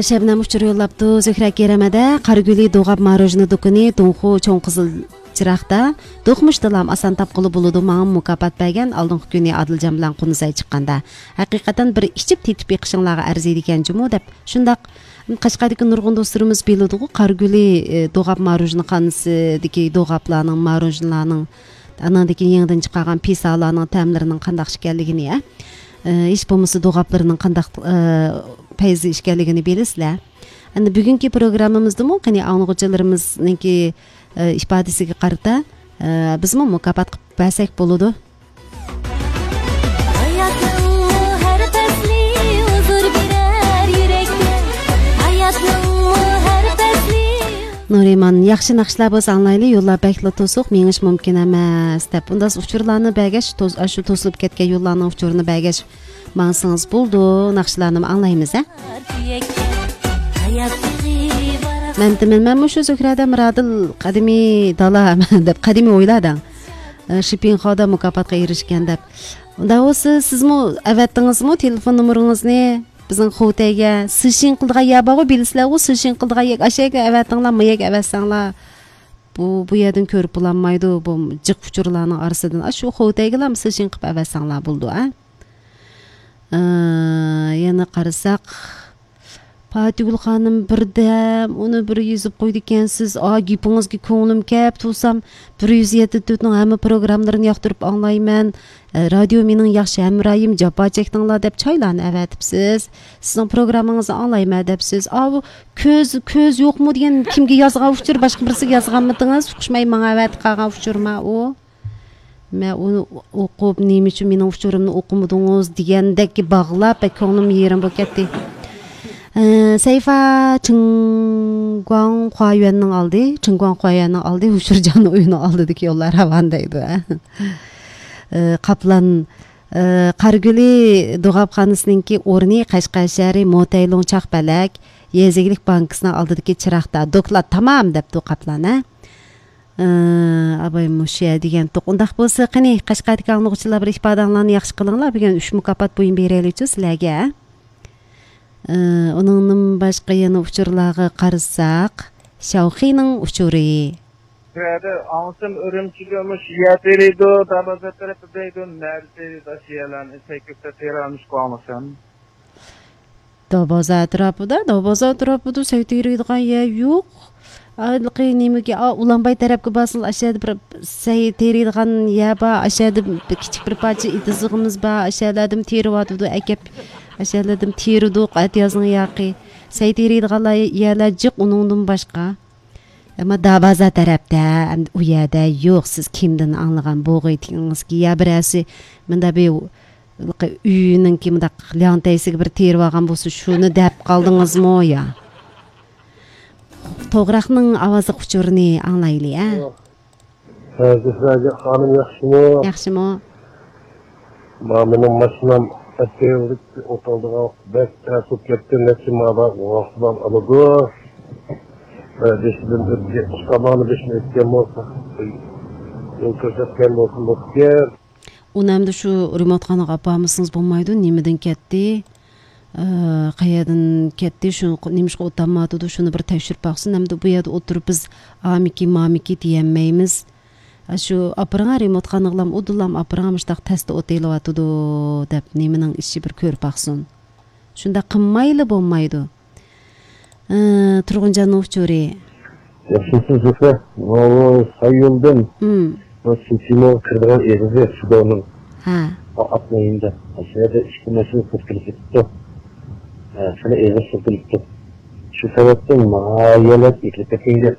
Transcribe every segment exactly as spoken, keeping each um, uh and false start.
شەبنەم ئۇچۇر يوللاپتۇ. زۆھرە كېرەمەدە قارىگۈلى دوغاپ ماروژنا دۇكىنى دۇڭخۇ چوڭ قىزىل چىراغدا دوقمۇشتىلام ئاسان تاپقىلى بولىدۇ. ماڭا مۇكاپات بەرگەن ئالدىنقى كۈنى ئادىلجان بىلەن قۇنۇزەي چىققاندا. ھەقىقەتەن بىر ئىچىپ تېتىپ بېقىشىڭلارغا ئەرزىيدىكەن جۇمۇ دەپ. شۇنداق. قەشقەردىكى نۇرغۇن دوستلىرىمىز بىلىدىغۇ، قارىگۈلى، ئى، دوغاپ ماروژنىخانىسىدىكى دوغاپلارنىڭ، ماروژنىلارنىڭ، ئاناندىن كېيىن يېڭىدىن چىقارغان پىسالارنىڭ تەملىرىنىڭ قانداق ئىكەنلىكىنى، ئە، ئى، ھېچ بولمىسا دوغاپلىرىنىڭ قانداق، ئى، پەيزى ئىكەنلىكىنى بىلىسىلەر. ئەمدى بۈگۈنكى پروگراممىمىزدىمۇ قېنى ئاڭلىغۇچىلىرىمىزنىڭكى، ئى، ئىپادىسىگە قارىتا، ئى، بىزمۇ مۇكاپات قىلىپ بەرسەك بولىدۇ. ھاياتنىڭمۇ ھەر پەسلى ھۇزۇر بېرەر يۈرەككە. ھاياتنىڭمۇ ھەر پەسلى. نۇرىمان، ياخشى ناخشىلار بولسا ئاڭلايلى، يوللار بەكلا توسۇق، مېڭىش مۇمكىن ئەمەس، دەپ. ئۇنداق ئۇچۇرلارنى بەرگەچ، توس-، ئاشۇ توسۇلۇپ كەتكەن يوللارنىڭ ئۇچۇرىنى بەرگەچ ماڭسىڭىز بولىدۇ، ناخشىلارنىمۇ ئاڭلايمىز، ھە؟ مەن دېمەن، مەن مۇشۇ زۆھرەدە مىرادىل قەدىمىي دالا دەپ، قەدىمىي ئويلاردىڭ. ئە، شىپىڭخادا مۇكاپاتقا ئېرىشكەن دەپ. ئۇنداق بولسا، سىزمۇ ئەۋەتتىڭىزمۇ تېلېفون نومۇرىڭىزنى بىزنىڭ خوتەيگە؟ سىشىڭ قىلىدىغان يەر بارغۇ، بىلىسىلەرغۇ، سىشىڭ قىلىدىغان يەر. ئاشۇ يەرگە ئەۋەتىڭلار، ما يەرگە ئەۋەتسەڭلار. بۇ، بۇ يەردىن كۆرۈپ بولالمايدۇ، بۇ جىق ئۇچۇرلارنىڭ ئارىسىدىن. ئاشۇ خوتەيگىلا سىشىڭ قىلىپ ئەۋەتسەڭلار بولىدۇ، ھە؟ ئە، يەنە قارىساق، پاتىگۈل خانىم بىردەم ئۇنى بىر يېزىپ قويىدىكەنسىز. ئا، گېپىڭىزگە كۆڭلۈم كەپ تۇرسام، بىر يۈز يەتتە تۆتنىڭ ھەممە پروگراملىرىنى ياقتۇرۇپ ئاڭلايمەن. ئە، رادىيو مېنىڭ ياخشى ھەمراھىم، جاپا چەكتىڭلار دەپ چايلارنى ئەۋەتىپسىز. سىزنىڭ پروگراممىڭىزنى ئاڭلايمەن دەپسىز. ئاۋۇ كۆز، كۆز يوقمۇ دېگەن كىمگە يازغان ئۇچۇر، باشقا بىرسىگە يازغانمىدىڭىز؟ ئۇقۇشماي ماڭا ئەۋەتىپ قالغان ئۇچۇرما ئۇ. مەن ئۇنى ئوقۇپ، نېمە ئۈچۈن مېنىڭ ئۇچۇرۇمنى ئوقۇمىدىڭىز دېگەندەك باغلاپ، بەك كۆڭلۈم يېرىم بولۇپ كەتتى. ئە، سەيفا چىڭگۇاڭ خۇايۈەننىڭ ئالدى، چىڭگۇاڭ خۇايۈەننىڭ ئالدى، ھۇشۇرجان ئۆيىنىڭ ئالدىدىكى يوللار راۋان دەيدۇ، ھە. ئە، قاپلان، ئە، قارىگۈلى دوغاپخانىسىنىڭكى ئورنى قەشقەر شەھىرى موتەيلۇڭ چاقپەلەك يېزا ئىگىلىك بانكىسىنىڭ ئالدىدىكى چىراغدا. دوكلات تامام دەپتۇ قاپلان، ھە. ئى، ئاباي مۇشۇ يەر دېگەنتۇق. ئۇنداق بولسا، قېنى، قەشقەردىكى ئاڭلىغۇچىلار بىر ئىپادەڭلارنى ياخشى قىلىڭلار. بۈگۈن ئۈچ مۇكاپات بۇيۇم بېرەيلىچۇ سىلەرگە. ئى، ئۇنىڭدىن باشقا يەنە ئۇچۇرلارغا قارىساق، شاۋخىنىڭ ئۇچۇرى. بۇ يەردە ئاڭلىسام، ئۈرۈمچىدە مۇشۇ يەر تېرىيدۇ، دەرۋازا تەرەپتە دەيدۇ، نەدە تېرىيدۇ، ئاشۇ يەرلەرنى سەي كۆكتە تېرىيالمىشقا ئاڭلىسام. داۋازا ئەتراپىدا، داۋازا ئەتراپىدا سەي تېرىيدىغان يەر يوق. ھېلىقى نېمىگە، ئا، ئۇلانباي تەرەپكە بارسىڭىز، ئاشۇ يەردە بىر سەي تېرىيدىغان يەر بار، ئاشۇ يەردە بىر كىچىك بىر پارچە ئېتىزلىقىمىز بار، ئاشۇ يەرلەردىمۇ تېرىۋاتىدۇ، ئەكەپ، ئاشۇ يەرلەردىمۇ تېرىدۇق، ئەتىيازنىڭ ياقى. سەي تېرىيدىغانلار يەرلەر جىق ئۇنىڭدىن باشقا. ئەمما داۋازا تەرەپتە، ئەمدى ئۇ يەردە يوق، سىز كىمدىن ئاڭلىغان بوغايتىڭىزكى يا بىرەرسى مۇنداق بىر ئۆينىڭكى مۇنداق لياڭتەيسىگە بىر تېرىۋالغان بولسا، شۇنى دەپ قالدىڭىزمۇ يا؟ توغراقنىڭ ئاۋازلىق ئۇچۇرىنى ئاڭلايلى، ھە؟ ھە، زۆھرە خانىم ياخشىمۇ؟ ياخشىمۇ؟ ما، مېنىڭ ماشىنام ئەتىگەنلىك ئوتالدىغان بەك تەس بولۇپ كەتتى. نەچچە مادا ۋاقىتلار ئالىدۇ. ھە، بېشىدىن ئۆتكەن، ئۇستامانى بېشىدىن ئۆتكەن بولسا، يول كۆرسەتكەن بولسا بوپتىكەن. ئۇنى ئەمدى شۇ رېمونتخانىغا ئاپارمىسىڭىز بولمايدۇ. نېمىدىن كەتتى؟ ئى، قەيەردىن كەتتى؟ شۇ نېمىشقا ئولتۇرمايۋاتىدۇ؟ شۇنى بىر تەكشۈرۈپ باقسۇن. ئەمدى بۇ يەردە ئولتۇرۇپ بىز ئامىكى، مامىكى دېيەلمەيمىز. ئاشۇ ئاپىرىڭا رېمونتخانىغىلام، ئۇدۇلام ئاپىرىڭا مۇشتاق تەستە ئوتېلىۋاتىدۇ دەپ نېمىنىڭ ئىشى بىر كۆرۈپ باقسۇن. شۇنداق قىلمايلا بولمايدۇ. ئى، تۇرغۇنجاننىڭ ئۇچۇرى. ياخشىمۇسىز زۆھرە؟ ماۋۇ ساييولدىن مم. بۇ سىتىموغا كىرىدىغان ئېغىزى سۇدانىڭ ھە. ئاتنىڭ يېنىدا. ئاشۇ يەردە ئىككى ماشىنا سىرتىلىپ كېتىپتۇ. ھە، خېلى ئېغىر سىرتىلىپتۇ. شۇ سەۋەبتىن مايەلەپ ئېتىلىپ كەتكەن گەپ.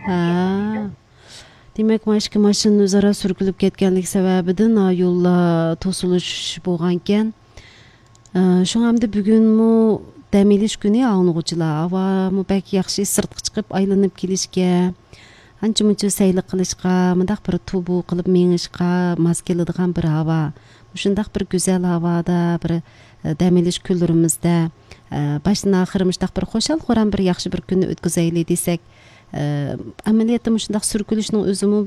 ھە. دېمەك، ما ئىككى ماشىنا ئۆزئارا سۈركىلىپ كەتكەنلىكى سەۋەبىدىن، ھا، يوللار توسۇلۇش بولغانىكەن. ئە، شۇڭا ئەمدى بۈگۈنمۇ دەم ئېلىش كۈنى ئاڭلىغۇچىلار. ھاۋامۇ بەك ياخشى، سىرتقا چىقىپ ئايلىنىپ كېلىشكە، ئانچە-مۇنچە سەيلە قىلىشقا، مۇنداق بىر تۇبۇ قىلىپ مېڭىشقا ماس كېلىدىغان بىر ھاۋا. مۇشۇنداق بىر گۈزەل ھاۋادا، بىر، ئە، دەم ئېلىش كۈنلىرىمىزدە، ئە، باشتىن ئاخىر مۇشۇنداق بىر خۇشال-خۇرام بىر ياخشى بىر كۈننى ئۆتكۈزەيلى دېسەك، ئە، ئەمەلىيەتتە مۇشۇنداق سۈركىلىشنىڭ ئۆزىمۇ